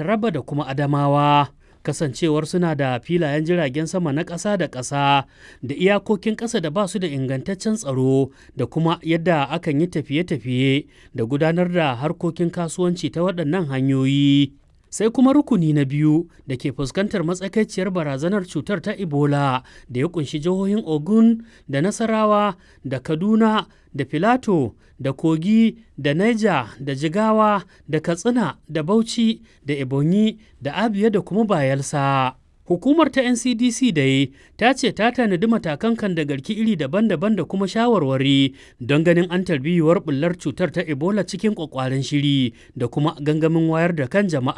Taraba da kuma Adamawa. Kasancewar suna da filayen jiragen sama na ƙasa da ƙasa da iyakokin ƙasa da ba su da ingantaccen tsaro da kuma yadda akan yi tafiye-tafiye da gudanar da harkokin kasuwanci ta waɗannan hanyoyi. Sai kuma rukuni na biyu da ke fuskantar matsakaiciyar barazanar cutar ta Ebola da ya kunshi jihohin Ogun da Nasarawa da Kaduna da Filato da Kogi da Niger da Jigawa da Katsina da Bauchi da Ebonyi da Abia da kuma Bayelsa. Hukumar ta NCDC dai ta ce ta tanadi matakan kan da garki iri daban-daban da kuma shawarwari don ganin an tarbiyuwar bullar cutar ta Ebola cikin kwakwaren shiri da kuma gangamin wayar da kan jama'a.